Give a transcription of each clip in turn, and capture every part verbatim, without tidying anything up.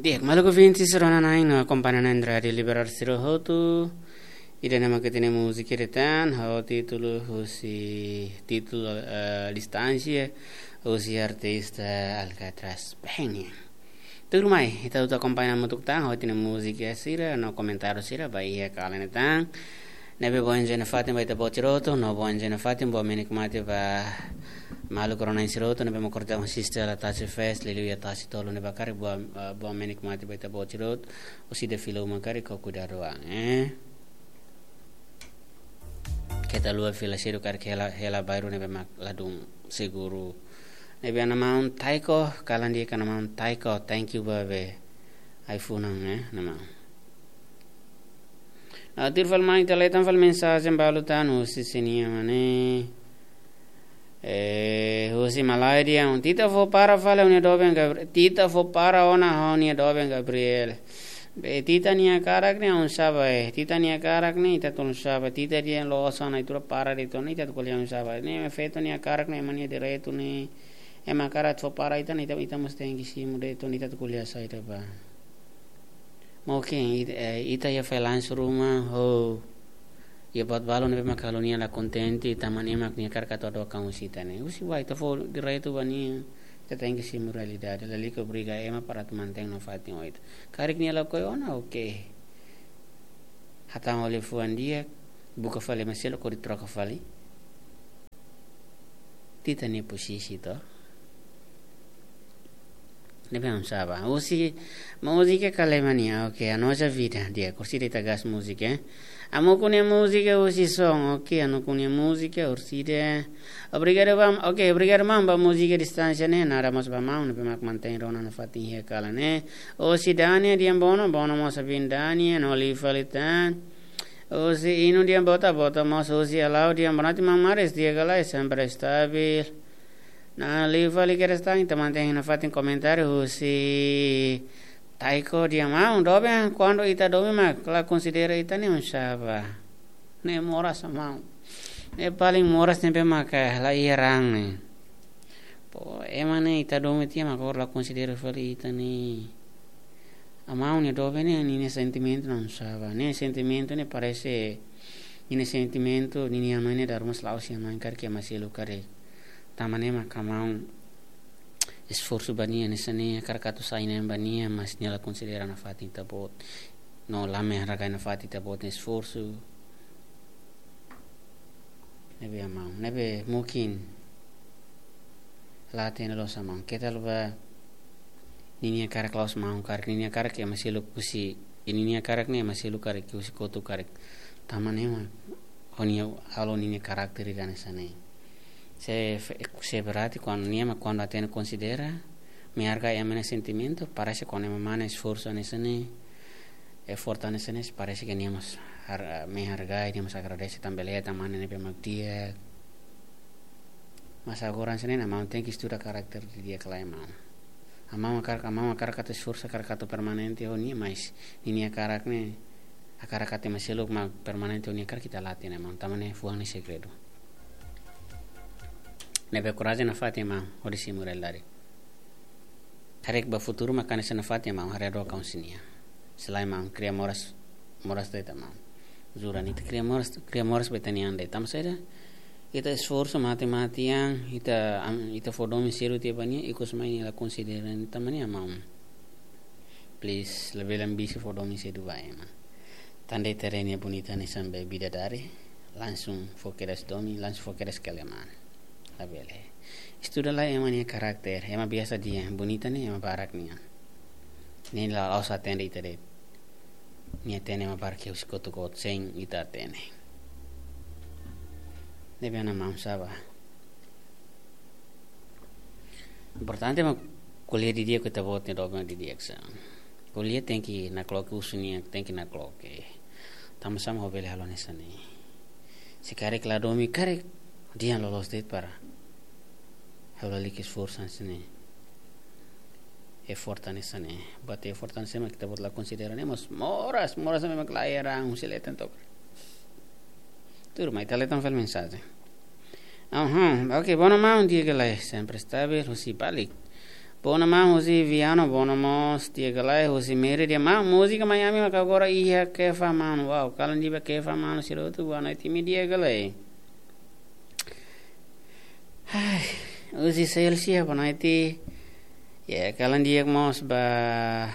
Di'ak, maluk ouvinte sira-nia akompaña iha Rádiu Liberal sira hotu. Ida-ne'e mak ita-nia múzika ida tan, ho títulu husi, títulu, eh, Distánsia, husi artista Alcatraz Peña. Tuirmai, ita atu akompaña hamutuk tan, ho ita-nia múzika sira, no komentáriu sira, ba iha kalan ne'e tan. Ne'ebé boa enjoy nafatin ba ita-boot sira hotu, no boa enjoy nafatin, boa menikmati ba maluk rona sira hotu, ne'ebé mak korta un sista la tasi fest, liuliu iha tasi tolu ne'ebá karik boa, eh, boa menikmati ba ita-boot sira hotu, husi ida fila uma karik ho kuidadu an, eh. Keta haluha fila sedu karik hela, hela bairru ne'ebé mak ladún seguru. Ne'ebé iha maun Taiko, kalan di'ak iha maun Taiko, thank you ba be ai-funan, eh, iha maun. Ah, tuir fali mai ita leten fali mensajen balu tan husi sira-nia mane. Eh, husi malae dehan, Tita fó para fali ha'u-nia doben Gabri-, Tita fó para ona ha'u-nia doben Gabriel. Be Tita nia hakarak ne'e oinsá ba, eh, Tita nia hakarak ne'e ita atu oinsá ba, Tita dehan la'ós ona ita para de'it ona, ita atu ko'alia oinsá ba. Ne'e feto nia hakarak ne'e ema nia direitu ne'e. Ema hakarak fó para ita ne'e ita, ita mós tenke simu de'it ona, ita atu ko'alia saida ba. Mungkin it-, eh, ita iha freelance ruma, ho iha buat balu ne'ebé mak halo nia la kontente, tanba ne'e mak nia hakarak atu hadook an husi ita ne'e. Husi ba ita fó direitu ba nia, ita tenke simu realidade, lalika obriga ema para atu mantein nafatin ho ita. Karik nia lakohi ona, oke. Hatán ho liafuan di'ak, buka fali ema seluk hodi troka fali Tita nia posisi to. Ne'ebé oinsá ba. Husi, múzika kale mania, oke, a nossa vida, di'ak, orsida ita gas múzika, eh. Amu kunia múzika husi son, oke, anu kunia múzika orsida. Obrigadu ba, oke, obrigadu maun ba múzika Distánsia ne'e, nada mós ba maun, ne'ebé mak mantein rona nafatin iha kalan ne'e. Husi Dania dehan bono, bono mós ba Dania, no liu fali tan. Husi Inu dehan boa tarde, boa tarde mós husi Alau dehan boa noite maun Maris, di'ak ka lae, sempre stabil. No liu fali kedas tan, ita mantein nafatin komentáriu husi Taiko dehan maun, doben, kuandu ita doben mak la konsidera ita ne'e oinsá ba. Ne'e moras maun. Ne'e paling moras ne'ebé maka la iha raan ne'e. Pô, ema ne'e ita doben tiha mak agora la konsidera fali ita ne'e. Maun nia doben ne'e, ninia sentimentu la oinsá ba. Nia sentimentu ne'e parese, ninia sentimentu, ninia mane daru mas lau si maun karik ema seluk karik. Tanba ne'e maka maun esforsu ba nia, hanesan ne'e hakarak atu sai neen ba nia, mas nia la konsidera nafatin ita-boot. No la menghargai nafatin ita-boot nia esforsu. Ne'ebé maun, ne'ebé mungkin la hatene loos maun. Keta haluha ba ninia hakarak la'ós maun hakarak, ninia hakarak ema seluk husi, ninia hakarak ne'e ema seluk karik, husi kotuk karik. Tanba ne'e mak ho nia halo ninia karakter ida hanesan ne'e. Se fe-, se berarti kuandu nia mak kuandu hatene konsidera, menghargai ema nia sentimentu, parese kuandu ema mane esforsu hanesan ne'e, effort hanesan ne'e, parese ke nia mós har-, menghargai, nia mós agradese tanba lee tan mane ne'ebé mak di'ak. Mas agora hanesan ne'e, maun tenke estuda karakter didi'ak ka lae maun. Maun hakarak, maun hakarak atu esforsu, hakarak atu permanente ho nia, mas ninia hakarak ne'e, hakarak atu ema seluk mak permanente ho nia hakarak ita la hatene maun, tanba ne'e fuan ne'e segredu. Ne'ebé korajen nafatin maun, hodi simu realidade. Karik ba futuru mak hanesan nafatin maun, haree hadook an husi nia. Se lae maun, kria moras, moras de'it maun. Jura ne'e ita kria moras, kria moras ba ita-nia an de'it. Tanba saida, ita esforsu mate-mate an, ita, am, ita fó domin sedu tiha ba nia, ikus mai nia la konsidera, tanba ne'e maun. Please, labele ambisi fó domin sedu ba ema. Tan de'it haree nia bonita hanesan be bidadari, langsung fó kedas domin, langsung fó kedas keleman. Labele. Estuda lai ema nia karakter, ema biasa dehan bonita ne'e ema barak nian. Ne'e la'ós hatene ita de'it. Nia hatene ema barak husi kotuk-kotuk sein ita hatene. Ne'ebé maun sá ba. Importante mak ko'alia didi'ak ho ita-boot nia doben didi'ak sa. Ko'alia tenke nakloke husi nia, tenke nakloke. Tanba sá mak ha'u bele halo hanesan ne'e. Se karik la domin karik, dehan loloos de'it para ha'u lalika esforsu hanesan ne'e. Effort hanesan ne'e. Buat effort hanesan ne'e mak ita-boot la konsidera ne'e, mas moras, moras ne'ebé mak la iha raan, husi leten to'o. Tuirmai, ita leten fali mensajen. Aha, oke, bono maun, di'ak ka lae, sempre stabil, husi Balik. Bona maun husi Viano, bona mós di'ak ka lae husi Mérida. Maun, múzika mai ami maka agora iha Kefa Manu. Wow, kalan di'ak ba Kefa Manu sira hotu, boa noite, imi di'ak ka lae? Ai, husi Celsia, boa noite. Ya, kalan di'ak mós ba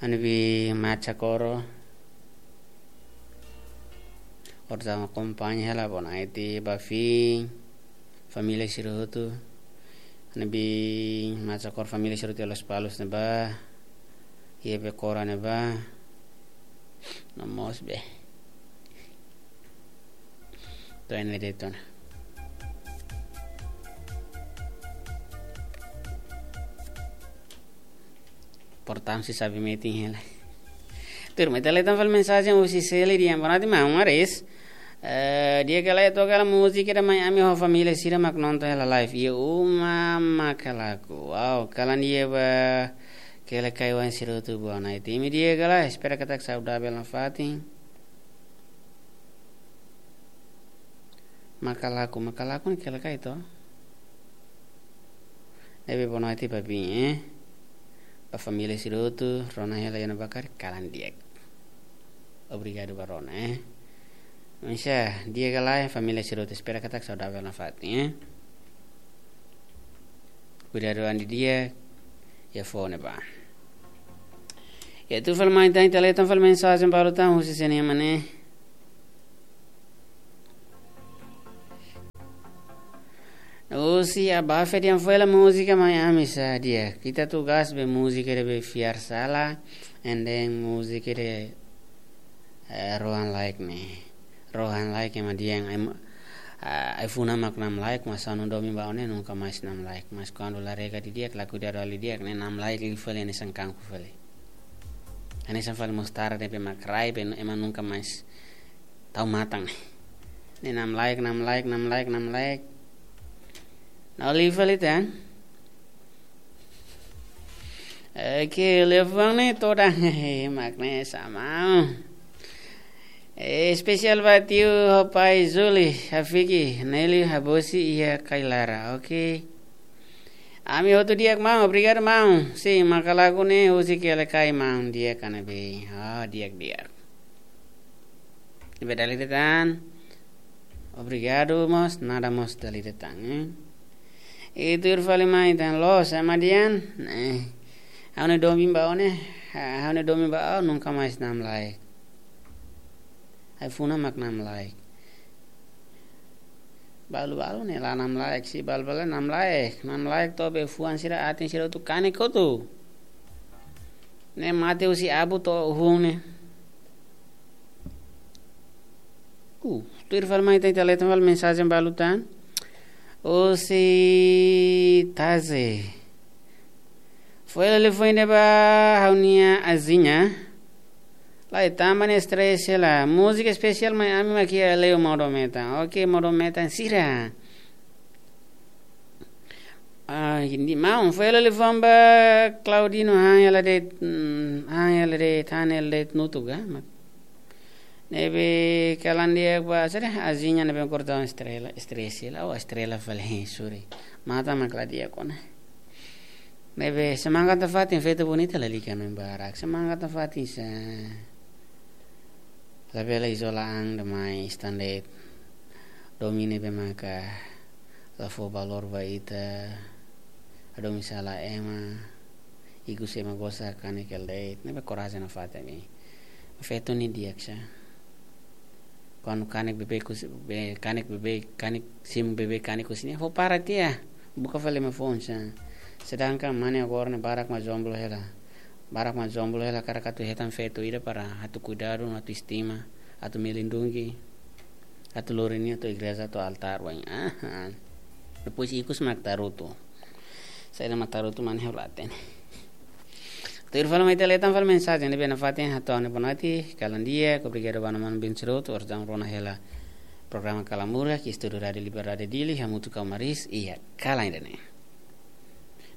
Anibi Macha Koro. Ora tama akompaña hela, boa noite, ba Fin. Família sira hotu. Anibi Macha Koro família sira hotu iha Lospalos ne'ebá. Iha Bekora ne'ebá. No mós be. To'o ne'e de'it ona. Portantu, se sabe metin hela. Turma, ita leten fali mensajen husi Seli dehan, boa noite maun, maris. Eh, di'ak ka lae, to'o kala múzika ida mai ami ho família sira mak nonton hela live. Iha uma Makalaku. Wow, kalan di'ak ba Kelekai oan sira hotu, boa noite, imi di'ak ka lae? Espera katak saudavel nafatin. Makalaku, Makalaku ne'e Kelekai to. Ne'ebé boa noite ba imi, eh. Ba família sira hotu, rona hela iha ne'ebá karik, kalan di'ak. Obrigadu ba rona, eh. Maibé, di'ak ka lae, família sira hotu, espera katak saudavel nafatin, eh. Kuidadu an didi'ak iha foho ne'ebá. Ya, tuir fali mai tan, ita leten fali mensajen balu tan husi sé nian mak ne'e. Husi Abafe dehan foin hela múzika mai ami sá di'ak. Ita tugas be múzika ida be fiar sala, and then múzika ida, eh, rohan-laek ne'e. Rohan-laek ema dehan, em, ah, ai-funan mak namlaek, mas ha'u-nia domin ba ó ne'e nunka mais namlaek. Mas kuandu la rega didi'ak, la kuidadu halo didi'ak, ne'e namlaek liu fali, hanesan kanku fali. Hanesan fali mostarda ne'ebé mak rai, be ema nunka mais tau matan. Ne'e namlaek, namlaek, namlaek, namlaek. Na'ok liu fali tan. Oke, liafuan ne'e todan. Mak ne'e sama. Eh, espesiál ba tiu ho pai Zuli, Hafiki, Neli, Habosi, iha Kailara, oke. Ami hotu di'ak maun, obrigadu maun. Sin, Makalaku ne'e husi Kelekai maun, di'ak ka ne'ebé? Ah, di'ak, di'ak. Ne'ebé dala ida tan. Obrigadu mós, nada mós dala ida tan, eh. I tuir fali mai tan loos, ema dehan, eh. Ha'u-nia domin ba ó ne'e, ha-, ha'u-nia domin ba ó nunka mais namlaek. Ai-funan mak namlaek. Balu-balu ne'e la namlaek, se balu-balu namlaek, namlaek to'o be fuan sira, aten sira hotu kanek hotu. Ne'e mate husi abu to'o hun ne'e. Uh, tuir fali mai tan, ita leten fali mensajen balu tan. Husi Taze. Foin hela liafuan ida ba ha'u-nia azinha. Lae, tanba nia stress hela. Múzika espesiál mai ami mak iha Leo Modo Metan. Oke, Modo Metan sira. Ah, indi maun, foin hela liafuan ba Claudino, han hela de'it, mm, han hela de'it, han hela de'it nutuk, ah, mak. Ne'ebé kalan di'ak ba, sira, azinha ne'ebé kordon estrela, estrela, oh, estrela fali, sorry. Matan mak la di'ak ona. Ne'ebé semangat nafatin, feto bonita lalika no barak. Semangat nafatin sá. Labele izola an demais tan de'it. Domin ne'ebé maka la fó valór ba ita. Hadomi sala ema. Ikus ema gosta kanek hela de'it. Ne'ebé korajen nafatin ami. Feto ne'e di'ak sá. Kuandu kanek beibeik husi, be-, kanek beibeik, kanek simu beibeik kanek husi nia, fó para tiha. Buka fali ema foun sá. Sedangkan mane agora ne'e barak mak jomblo hela. Barak mak jomblo hela, hakarak atu hetan feto ida para atu kuidadu, atu estima, atu melindungi, atu lori nia to'o igreja, to'o altár, wa'in. Ah, ah. Depois ikus mak tarutu. Saida mak tarutu, mane ha'u la hatene. Tuir fali mai ita leten fali mensajen ne'ebé nafatin, hato'o ha'u-nia boa noite, kalan di'ak, obrigadu ba manu-manu bin sira hotu, orsida rona hela programa Kalan Murak, iha estúdiu Rádiu Liberdade Dili, hamutuk ho Maris, iha kalan ida-ne'e.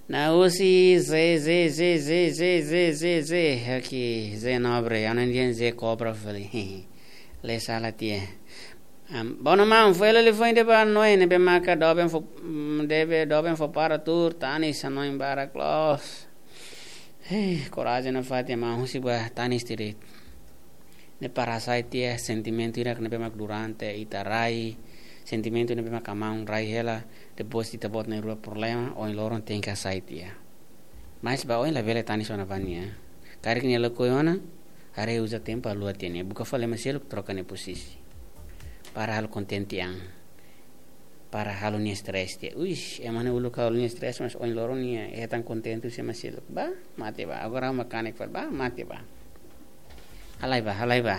Nahusi Zé, Zé, Zé, Zé, Zé, Zé, Zé, Zé, aqui, Zé Nobre, ha'u-nia dehan Zé Kobra fali. Lee sala tiha. Am, bona maun, fó hela liafuan ida ba hanoin ne'ebé maka doben fó, mm, ne'ebé doben fó para tuur, tanis hanoin barak loos. Hei, korajen nafatin maun, husik ba tanis tiha de'it. Ne'e para hasai tiha sentimentu ida ne'ebé mak durante ita rai, sentimentu ne'ebé mak maun rai hela, depois ita-boot na'in-rua problema, ohin loron tenke hasai tiha. Mas ba oin labele tanis ona ba nia. Karik nia lakohi ona, haree uza tempu haluha tiha nia. Buka fali ema seluk, troka nia posisi. Para halo kontente an. Para halo nia stress tiha. Uish, ema ne'e uluk halo nia stress, mas ohin loron nia hetan kontente husi ema seluk. Ba, mate ba. Agora ha'u makanek fali, ba, mate ba. Halai ba, halai ba.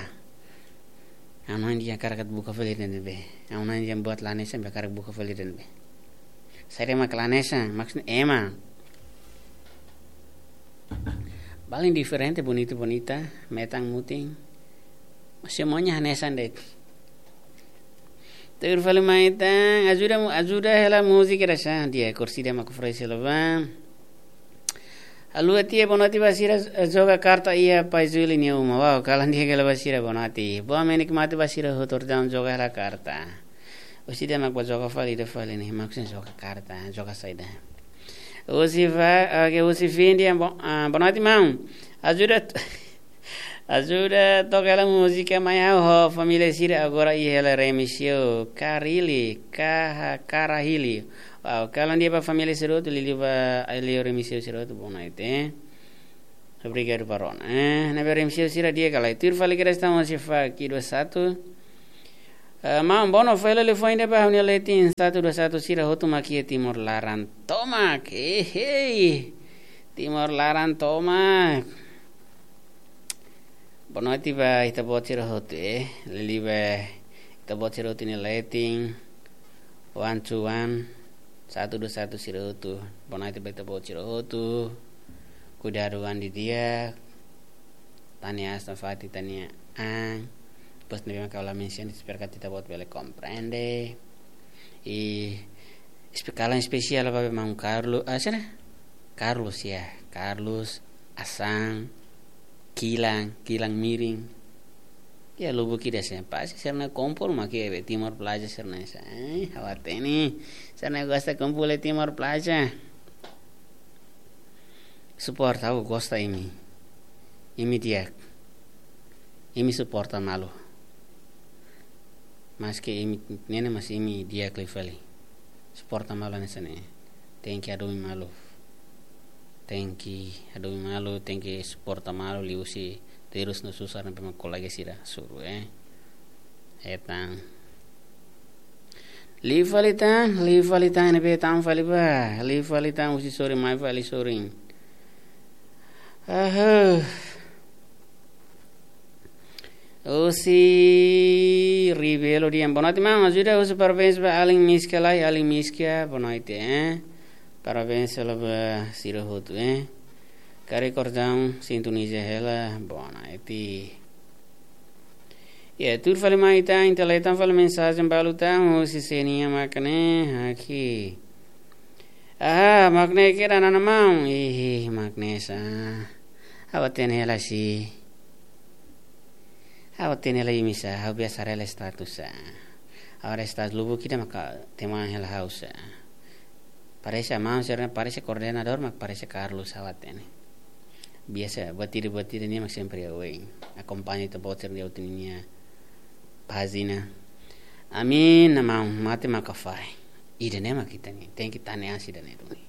Ha'u-nia an di'ak hakarak atu buka fali ida ne'ebé. Ha'u-nia an di'ak buat la hanesan, be hakarak buka fali ida ne'ebé. Saida mak la hanesan, maksudnya ema. Balun diferente, bonita, bonita, metan mutin. Semuanya hanesan de'it. Tuir fali mai tan, ajuda mu-, ajuda hela múzika ida sá, di'ak, kursi ida mak oferese hela ba. Haluha tiha, bonoite ba sira, eh, joga karta iha Pai Júlio nia uma. Wow, kalan di'ak hela ba sira, bonoite. Boa menikmati ba sira hotu, entaun joga hela karta. Husi ida mak bá joga fali, ida fali ne'e, maksudnya joga karta, joga saida. Husi fa-, oke, husi Findi, bo-, ah, bonoite maun. Ajuda t-, ajuda toka hela múzika mai ha'u ho família sira agora iha hela Remexeu, Karili, Kaha-, Karahili. Wow, kalan di'ak ba família sira hotu, liuliu ba aldeia Remexeu sira hotu, bonoite. Obrigadu ba rona. Eh, ne'ebé Remexeu sira di'ak ka lae. Tuir fali kedas tan husi Faki dua satu. Eh, maun, bona fó hela liafuan ida ba ha'u-nia letin satu dua satu sira hotu mak iha Timor laran tomak. Eh, hei. Timor laran tomak. Bonoite ba ita-boot sira hotu, eh. Liuliu ba ita-boot sira hotu nia letin. One two one, satu dua satu sira hotu. Bonoite ba ita-boot sira hotu. Kuidadu an didi'ak. Tane aas nafatin ita-nia an. Depois ne'ebé mak ha'u la mensiona, espera katak ita-boot bele komprende. I espe-, kalan espesiál ba maun Carlo, ah, sira? Carlos, ya. Carlos, Asan, Kilang, Kilang Miring. Ya, lubuk ida sá. Pasti sira-nia kompol mak iha be Timor Plaza sira-ne'e sá. Eh, ha'u hatene. Sira-ne'e gosta kompol iha Timor Plaza. Suporta, ha'u gosta imi. Imi di'ak. Imi suporta malu. Maske imi ne'e mas imi di'ak liu fali. Suporta malu hanesan ne'e. Tenke hadomi malu. Tenke hadomi malu, tenke suporta malu, liuhusi terus no susar ne'ebé mak kolega sira hasoru, eh. Hetan. Liu fali tan, liu fali tan, ne'ebé tan fali ba. Liu fali tan, husi sorin mai fali sorin. Aha. Husi Ribelo dehan, bonoite maun, ajuda husu parabéns ba alin Miska lai, alin Miska, bonoite, eh. Parabéns hela ba sira hotu, eh. Karik kordang sintoniza hela, bonoite. Ya, tuir fali mai tan, ita lee tan fali mensajen balu tan, husi Senia mak ne'e, aqui. Aha, mak ne'e kira nana maun. Ih, mak ne'e sá. Ha'u hatene hela sih. Ha'u hatene hela imi sá, ha'u biasa haree hela status sá. Ha'u haree status lubuk ida maka teman hela ha'u sá. Parese maun sira-ne'e, parese koordenadór mak parese Carlos, ha'u hatene. Biasa buat ida, buat ida nia mak sempre oin. Akompaña ita-boot sira-nia, ita-nia pájina. Amin, na maun, mate maka fai. Ida-ne'e mak ita-nia. Tenke tane aas ida-ne'e duni.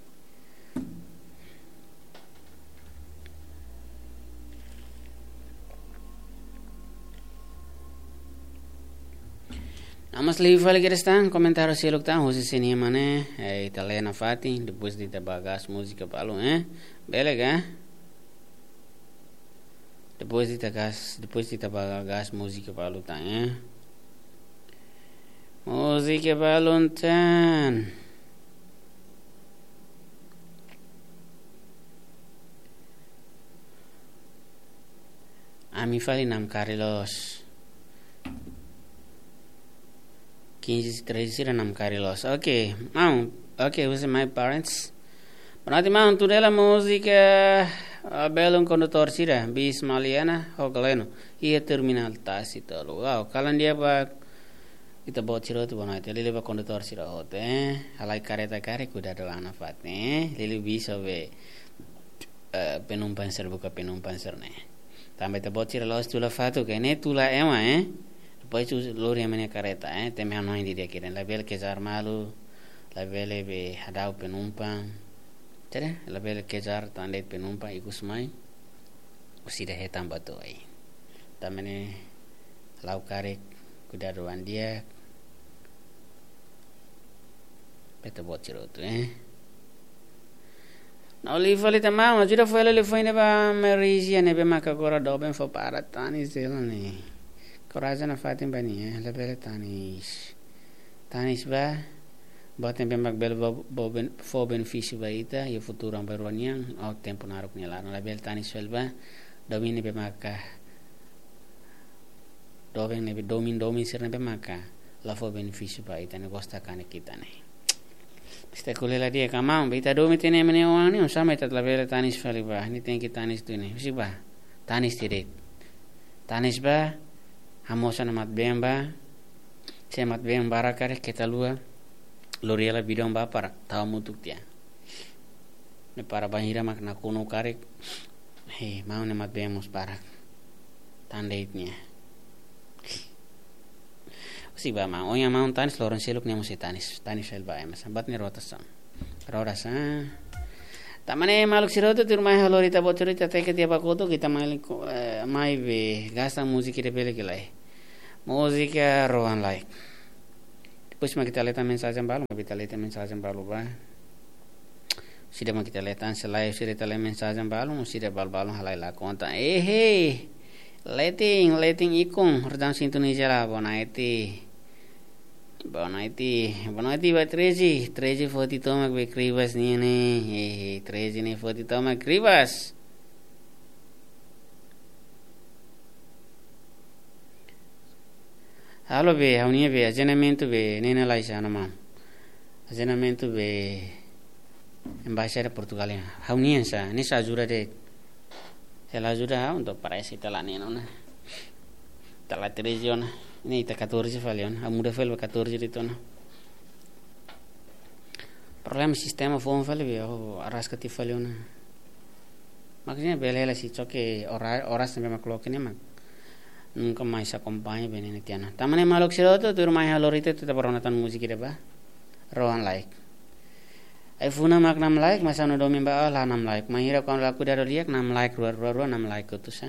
Amas liu fali kedas tan, komentáriu seluk tan, husi Senia mak ne'e, eh, ita lee nafatin, depois ita bá gas múzika balu, eh? Bele ka? Depois ita gas, depois ita bá gas múzika balu tan, eh? Múzika balu tan. Ami fali namkari loos. Quinze treze sira namkari loos. Oke, maun. Oke, husi my parents. Bonoite maun, tuda hela múzika, ah, belun kondutór sira, bis Maliana, ho Galeno. Iha terminál tasi tolu. Wow, kalan di'ak ba Ita-boot sira hotu, boa noite. Liuliu ba kondutór sira hotu, eh. Halai kareta karik kuidadu ona nafatin, eh. Liuliu ba sira be, eh, penumpang sira, buka penumpang sira-ne'e. Tanba ita-boot sira la'ós tula fatuk, ne'e tula ema, eh. Depois tu lori ema nia kareta, eh. Temi hanoin didi'ak ida-ne'e. Labele kejar malu, labele be hadau penumpang. Jadi, labele kejar tan de'it penumpang ikus mai. Orsida hetan ba to'o ai. Tanba ne'e la'o karik kuidadu an di'ak. Ba ita-boot sira hotu, eh. Ha'u liu fali tan maun, ajuda fali liafuan ida ba Malaysia ne'ebé maka agora doben fó para tanis dela ne'e. Korajen nafatin ba nia, eh, labele tanis. Tanis ba, buat ne'ebé mak bele fó, fó ben-, fó benefísiu ba ita iha futuru bainrua nian, ou tempu naruk nia laran. Labele tanis fali ba domin ne'ebé maka, doben ne'ebé, domin, domin sira ne'ebé maka la fó benefísiu ba ita, ne'e gosta kanek ita ne'e. Ita ko'alia di'ak ka maun, be ita domin tiha ne'e ema nia oan ne'e, oinsá mak ita labele tanis fali ba, ne'e tenke tanis duni. Husi ba, tanis tiha de'it. Tanis ba, hamoos ona mat-been ba, se mat-been barak karik keta haluha, lori hela bidon ba para tau hamutuk tiha. Ne'e para bainhira mak nakonu karik, he, maun nia mat-been mós barak. Tan de'it nia. Husi ba maun, ohin maun tanis, loron seluk nia mós sei tanis, tanis fali ba ema sira, buat ne'e rotasaun. Rotasaun. Tanba ne'e maluk sira hotu, tuirmai ha'u lori ita-boot sira hotu, ita teke tiha ba kotuk, ita mai, eh, mai be gasta múzika ida bele ka lae. Múzika Rohan Like. Depois mak ita lee tan mensajen balu, mak ita lee tan mensajen balu ba. Orsida mak ita lee tan, se lae orsida ita lee mensajen balu, orsida balu-balu halai la konta. Ehe. Leting, Leting Ikung, Rojang Sintonia Jela, boa noite. Boa noite. Boa noite ba Treze. Treze forte tomak be Kribas nian ne'e. Ehe, Treze ne'e forte tomak Kribas. Halo be, ha'u-nia be, ajendimentu be, ne'e ne'e la iha ona maun. Ajendimentu be, Embaixada Portugal ya. Ha'u-nian sá, ne'e sá ajuda de'it. Se la ajuda ha'u, entaun parese ita la neen ona. Ita la Treze ona. Ne'e ita catorze fali ona. Ha'u muda fali ba catorze de'it ona. Problema sistema foun fali be, ha'u arraska tiha fali ona. Maksudnya bele hela sei choke ora-, oras ne'ebé mak loke ne'e mak nunka mais akompaña be ne'e tiha ona. Tanba ne'e maluk sira hotu, tuirmai ha'u lori ita, ita bá rona tan múzika ida ba. Rohan Like. Ai-funan mak namlaik, mas anu domin ba la namlaik. Bainhira kuandu la kuidadu di'ak namlaik, rua, rua, rua namlaik kotuk sá.